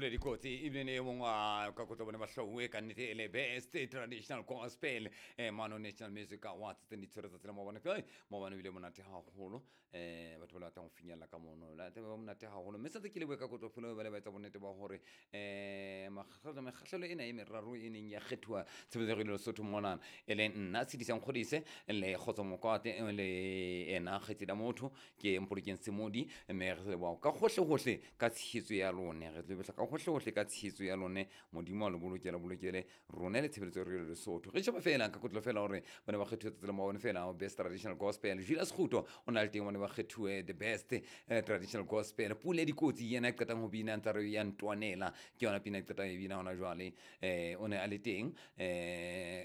Pule Dikotsi ebile ne e mong wa ka kotlo bone ba hlauwe ka nnete e le best traditional gospel mano National Music Awards tse di tshwere tsatsi la maobane. Kai maobane o bile monate haholo, batho ba le batlang ho finyella ka mono la taba monate haholo, mme santse ke lebohe ka kotlo pholo ba le ba etsa bonnete ba hore mekgahlelo ena e meraro e neng ya kgethuwa tshebeletso ya Radio Lesotho monana, e leng nna Tshedisang Kgodise le Kgotso Mokwate le ena kgaitsedi ya motho ke Mpolokeng Semodi, mme re leboha ka hohle hohle ka tshehetso ya lone, re leboha ka hohle hohle ka tshehetso ya lone. Modimo a le bolokele, bolokele rone le tshebeletso ya Radio Lesotho. Re sheba fela ka kotlo fela hore ba ne ba kgethuwe tsatsi la maobane fela best traditional gospel. Julius Kguto o na le teng, ba ne ba kgethuwe the best traditional gospel. Pule Dikotsi yena e qetang ho bina ntsa re ya ntwanela, ke yona pina e qetang e bina hona jwale, o ne a le teng.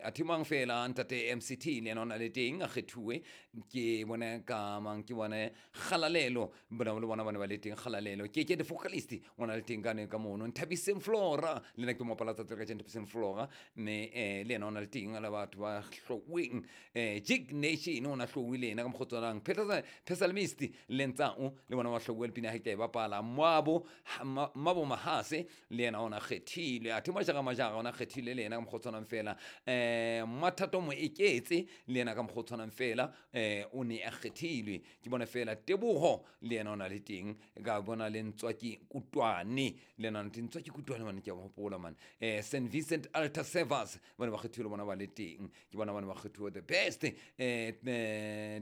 Athe mang fela, ntate MCT le yena o na le teng a kgethuwe. Ke bone ka mang, ke bone Kgalalelo, bona le bona ba ne ba le teng. Kgalalelo ke the vocalist o na le teng ka ne ka mono. Nthabiseng Flora le nna ke mopala tsatsi ka Nthabiseng Flora, mme le yena o na le teng le batho ba hloweng. Jig Nation o na hlowe le yena ka mokgwa o tshwanang. Psalmist le Ntsao le bona ba hlowe le pina ha ke tla e bapala. Mabo Mahase le yena o na kgethile. Athe Majara Majara o na kgethile le yena ka mokgwa o tshwanang fela. Mathato Moeketse le yena ka mokgwa o tshwanang fela o ne a kgethilwe. Ke bona fela Teboho le yena o na le teng, ka bona le Ntswaki Kutwane le yena o na le teng. Ntswaki Kutwane mane ke a mo hopola mane. St Vincent Altar Servers ba ne ba kgethiwe le bona ba le teng, ke bona ba ne ba kgethiwe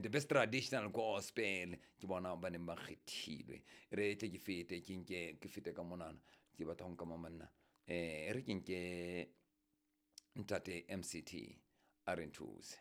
the best traditional gospel, ke bona ba neng ba kgethilwe. Re tle ke fete ke nke ke fete ka monana, ke batla ho nka manna, re ke nke ntate MCT a re nthuse.